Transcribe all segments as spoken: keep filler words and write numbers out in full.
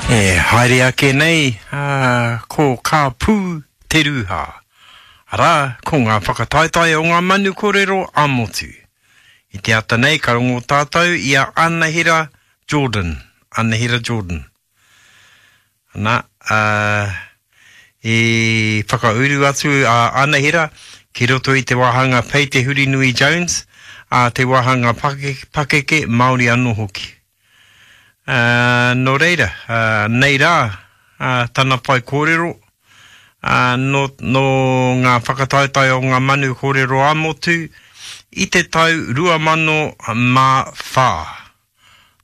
E haere ake nei, ā, ko Ka Pū Te Rūhā. Arā, ko ngā whakataetae o ngā manu kōrero ā-motu. I te ata nei ka rongo tātou i a Anahera Jordan. Anahera Jordan. Ana, ā, i whakauru atu a Anahera ki roto i te wāhanga Pei Te Hurinui Jones, ā, te wāhanga pakeke, pakeke Māori anō hoki. Uh, nō reira, uh, nei rā uh, tana whai kōrero, uh, nō, nō ngā whakataetae o ngā manu kōrero ā-motu i te tau rua mano mā whā.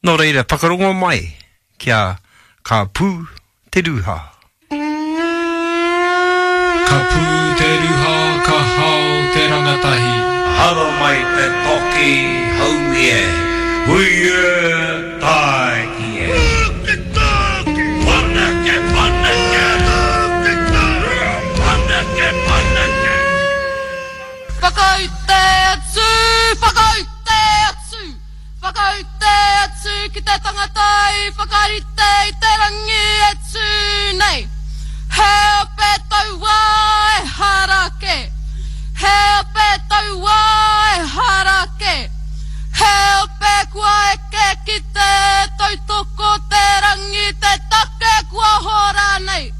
Nō reira, whakarongo mai kia Ka Pū Te Rūhā. Ka pū te rūhā, ka hao te rangatahi. Haramai te toki haumi e, hui e, tāiki e. Paneke, paneke! Paneke, paneke! Whakaute atu, whakaute atu, whakaute atu ki te tangata i whakarite i te rangi e tū nei. He ope tauā e hara kē, he ope tauā e hara kē, he ope kua eke ki te tautoko te rangi te take kua hora nei.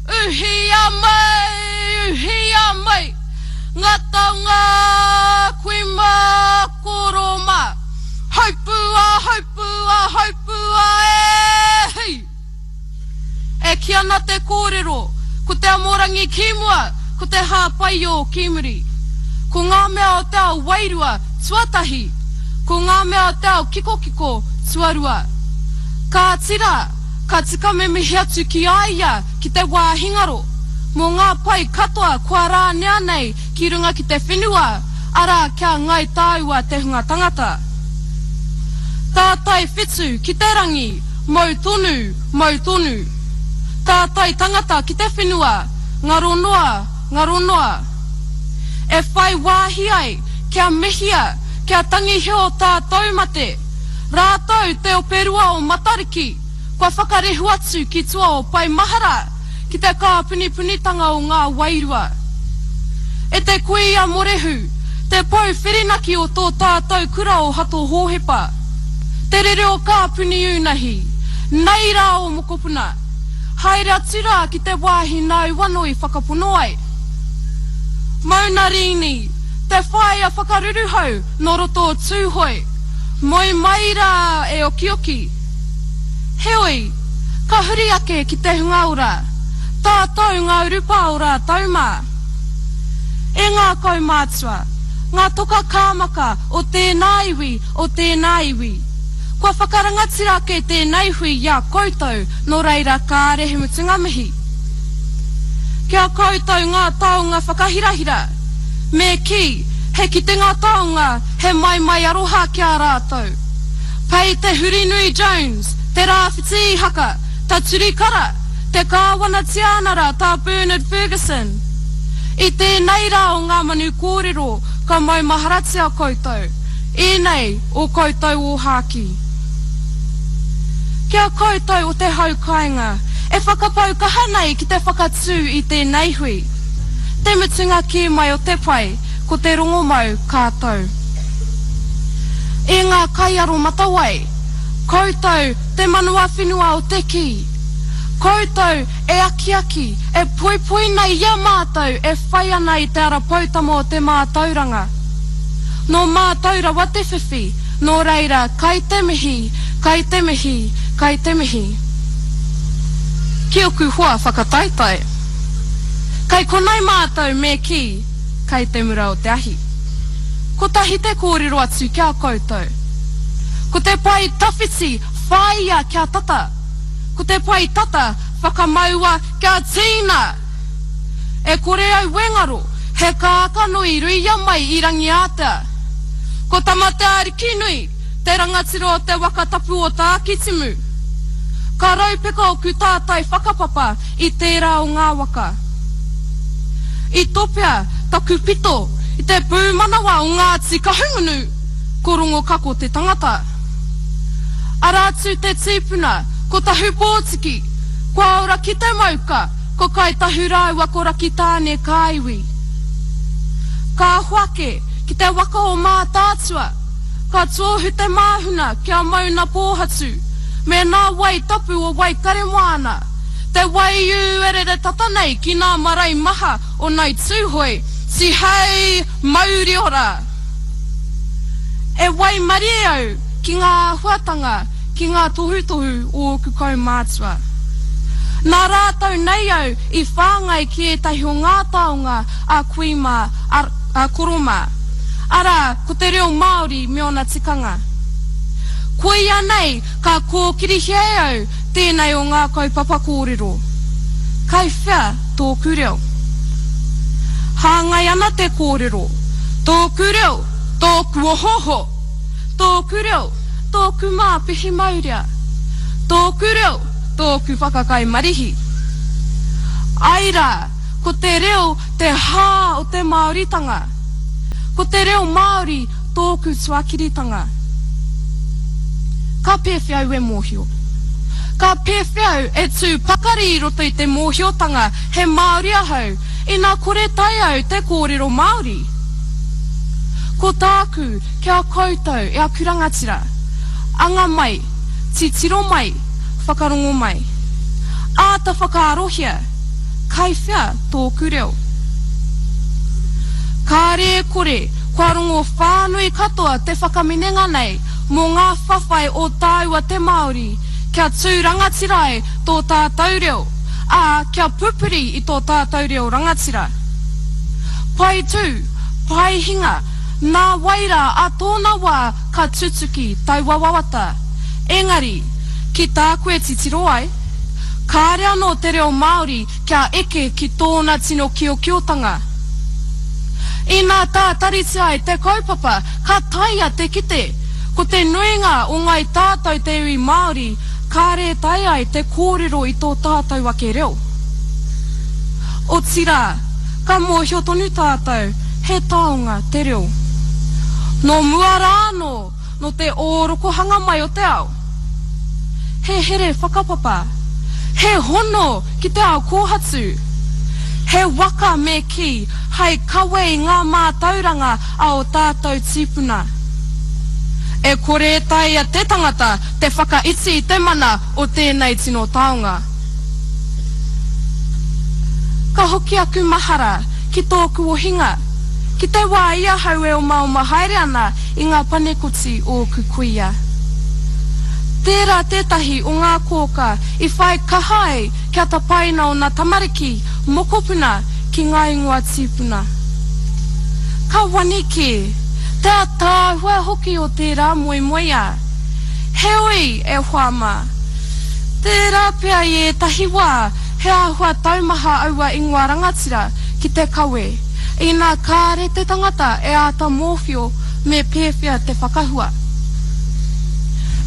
Uhia mai, uhia mai, ngā taonga kui mā, koro mā. Haupua, haupua, haupua e hī! E kī ana te kōrero, ko te amorangi ki mua, ko te hāpaio ki muri. Ko ngā mea o te ao wairua, tuatahi, ko ngā mea o te ao kikokiko, tuarua. Kāti rā, ka tika me mihi atu ki a ia ki te wāhi ngaro, mō ngā pai katoa kua rānea nei ki runga ki te whenua, arā kia ngāi tāua te hunga tangata. Tātai whetu ki te rangi, mau tonu, mau tonu. Tātai tangata ki te whenua, ngaro noa, ngaro noa. E whai wāhi ai kia mihia, kia tangihia o tātou mate, rātou te ope rua o Matariki, kua whakarehu atu ki tua o Pae Mahara, ki te kāpunipunitanga o ngā wairua. E te kuia Morehu, te pou whirinaki o tō tātou kura o Hato Hōhepa, te rere o Kāpuni Unahi, nei rā ō mokopuna, haere atu rā ki te wāhi nāu anō i whakapono ai. Mauna Rīni, te whaea whakaruruhau nō roto o Tūhoe, moe mai rā e okioki. Heoi, ka huri ake ki te hunga ora, tātou ngā urupā o rātou mā. E ngā kaumātua, ngā toka kāmaka o tēnā iwi, o tēnā iwi. Kua whakarangatira ake tēnei hui i a koutou, nō reira kāre he mutunga mihi. Ki a koutou ngā taonga whakahirahira, me kī, he kitenga taonga, he maimai aroha ki a rātou. Pei Te Hurinui Jones, Te Rāwhiti Ihaka, Ta Turi Kara, te Kāwana Tiānara Tā Bernard Fergusson. I tēnei rā o ngā manu kōrero ka maumaharatia koutou, ēnei o koutou ōhākī. Ki a koutou o te hau kāinga, e whakapau kaha nei ki te whakatū i tēnei hui. Te mutunga kē mai o te pai, ko te rongomau ka tau. E ngā kaiaromatawai, koutou te manawa whenua o te kī. Koutou e akiaki, e poipoi nei i a mātou e whai ana i te ara poutama o te mātauranga. Nō mātou rawa te whiwhi, nō reira kai te mihi, kai te mihi, kai te mihi. Ki oku hoa whakataetae. Kai konei mātou me kī, kai te mura o te ahi. Kotahi te kōrero atu ki a koutou. Ko te pae tawhiti whāia kia tata. Ko te pae tata whakamaua kia tīna! E kore au e ngaro, he kākano i ruia mai i Rangiātea. Ko Tamateaarikinui, te rangatira o te waka tapu o Tākitimu. Ka raupeka oku tātai whakapapa i tērā o ngā waka. I topea taku pito i te pūmanawa o Ngāti Kahungunu, ko Rongokako te tangata. Arā atu te tīpuna, Ko Tahupōtiki, kua ora ki te mauka, ko Kāi Tahu rāua ko Rakitāne kā iwi. Ka hoake ki te waka o Mātaatua, ka tōhu te māhuna kia mauna pōhatu, me nā wai tapu o Waikaremoana, te waiū e rere tata nei ki nā marae maha o Ngāi Tūhoe, tihei mauri ora! E waimarie au ki ngā āhuatanga, ki ngā tohutohu o ōku kaumātua. Nā rātou nei au i whāngai ki ētahi o ngā taonga a kui mā, a, a koro mā. Arā, ko te reo Māori me ōna tikanga. Koia nei ka kōkirihia e au tēnei o ngā kaupapa kōrero. Kai whea tōku reo? Hāngai ana te kōrero, Tōku reo, tōku ohooho! Tōku reo, tōku māpihi maurea! Tōku reo, tōku whakakai marihi. Āe rā, ko te reo te hā o te Māoritanga. Ko te reo Māori tōku tuakiritanga. Ka pēwhea au e mōhio? Ka pēwhea au e tū pakari i roto i te mōhiotanga he Māori ahau, ina kore tae au te kōrero Māori? Ko tāku ki a koutou e aku rangatira, anga mai, titiro mai, whakarongo mai. Āta whakaarohia, kai whea tōku reo? Kāre e kore, kua rongo whānui katoa te whakaminenga nei mō ngā whawhai o tāua te Māori kia tū rangatira ai tō tātou reo, ā, kia pupuri i tō tātou reo rangatira. Pai tū, pai hinga, nā wai rā ā tōna wā ka tutuki taua wawata. Engari, ki tāku e titiro ai, kāre anō te reo Māori kia eke ki tōna tino kiokiotanga. Inā tātaritia ai te kaupapa, ka taea te kite, ko te nuinga o ngāi tātou te iwi Māori, kāre e taea ai te kōrero i tō tātou ake reo. Otirā, ka mōhio tonu tātou, he taonga te reo. Nō mua rā anō, nō te ōrokohanga mai o te ao. He here whakapapa. He hono ki te ao kōhatu. He waka me kī, hai kawe i ngā mātauranga a ō tātou tīpuna. E kore e taea te tangata te whakaiti i te mana o tēnei tino taonga. Ka hoki aku mahara ki tōku ohinga, ki te wā i ahau e omaoma haere ana i ngā panekoti o ōku kuia. Tērā tētahi o ngā kōkā i whai kaha ai kia tapaina ōna tamariki, mokopuna, ki ngā ingoa tīpuna. Ka wani kē, te ataahua hoki o tērā moemoeā. Heoi, e hoa mā, tērā pea i ētahi wā he āhua taumaha aua ingoa rangatira ki te kawe, inā kāre te tangata e āta mōwhio me pēwhea te whakahua.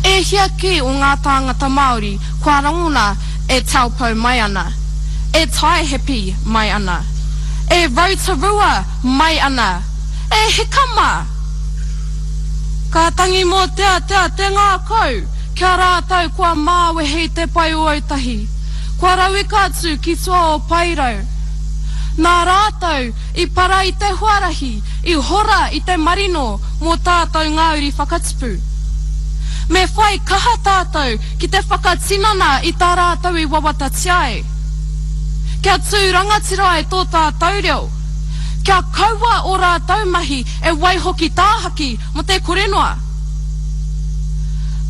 E hia kē o ngā tāngata Māori kua rangona e Taupo mai ana, e Taihape mai ana, e Rotorua mai ana, e hika mā! Ka tangi mōteatea te ngākau ki a rātou kua māwehe i te pae o Autahi, kua rauika atu ki tua o Paerau. Nā rātou i para i te huarahi, i hora i te marino mō tātou ngā uri whakatipu. Me whai kaha tātou ki te whakatinana i tā rātou i wawatatia ai. Kia tū rangatira ai tō tātou reo. Kia kaua ō rātou mahi e waiho ki tāhaki mō te kore noa.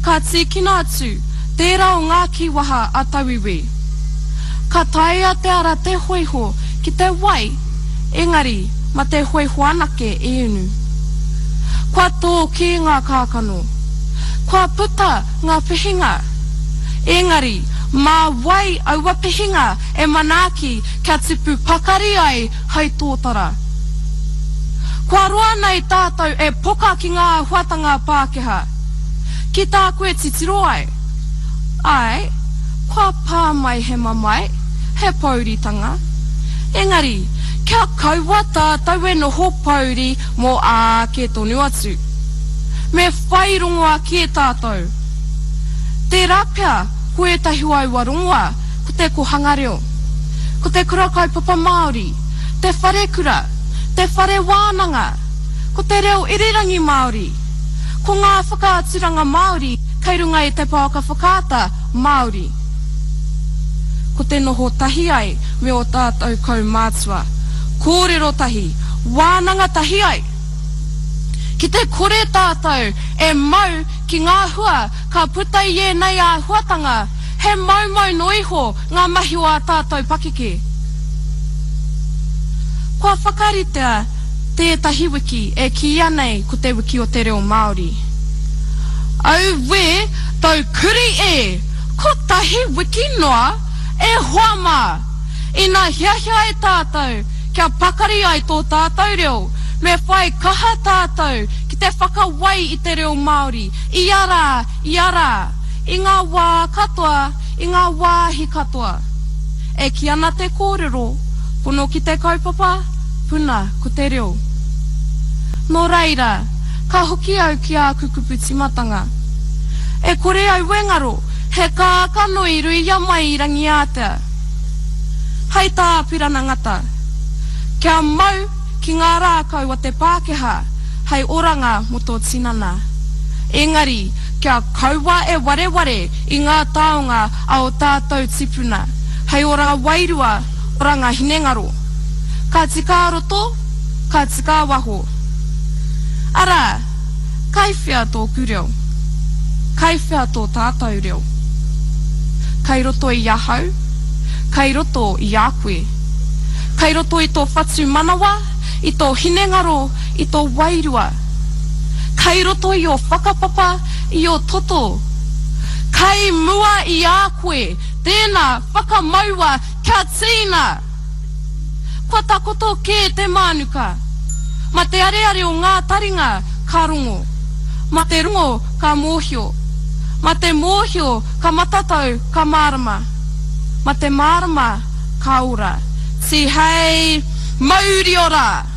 Ka tīkina atu tērā o ngā kīwaha a tauiwi. Ka taea te ara te hōiho ki te wai, engari ma te hōiho anake e unu. Kua tō kē ngā kākano. Kua puta ngā pihinga. Engari, mā wai aua pihinga e manaaki kia tipu pakari ai hai tōtara? Kua roa nei tātou e poka ki ngā āhuatanga Pākehā. Ki tāku e titiro ai. Āe, kua pā mai he mamae, he pōuritanga. Engari, kia kaua tātou e noho pōuri mō āke tonu atu. Me whai rongoā kē tātou. Tērā pea, Ko ētahi o aua rongoā, ko te kōhanga reo, ko te kura kaupapa Māori, te wharekura, te whare wānanga, ko te reo irirangi Māori, ko ngā whakaaturanga Māori kei runga i te pouaka whakaata Māori. Ko te noho tahi ai me ō tātou kaumātua, kōrero tahi, wānanga tahi ai. Ki te kore tātou e mau ki ngā hua ka puta i ēnei āhuatanga, he moumou noa iho ngā mahi o ā tātou pakeke. Kua whakaritea tētahi wiki e kīia nei ko Te Wiki o te Reo Māori. Auē, taukuri e! Kotahi wiki noa? E hoa mā! Ina hiahia ai tātou kia pakari ai tō tātou reo, me whai kaha tātou ki te whakawai i te reo Māori ia rā, ia rā, i ngā wā katoa, i ngā wāhi katoa. E kī ana te kōrero, pono ki te kaupapa, puna ko te reo. Nō reira, ka hoki au ki āku kupu tīmatanga. E kore au e ngaro, he kākano i ruia mai i Rangiātea. Hei tā Apirana Ngata, Kia mau ki ngā rākau a te Pākehā hei oranga mō tō tinana. Engari, kia kaua e wareware i ngā taonga a ō tātou tīpuna, hei oranga wairua, oranga hinengaro. Ka tika a roto, ka tika a waho. Arā, kai whea tōku reo? Kai whea tō tātou reo? Kai roto i ahau? Kai roto i a koe? Kai roto i tō whatumanawa, i tō hinengaro, i tō wairua? Kai roto i ō whakapapa, i ō toto? Kai mua i a koe, tēnā, whakamaua kia tīna! Kua takoto kē te mānuka. Ma te areare o ngā taringa ka rongo. Ma te rongo ka mōhio. Ma te mōhio ka matatau ka mārama. Ma te mārama ka ora. Tihei mauri ora!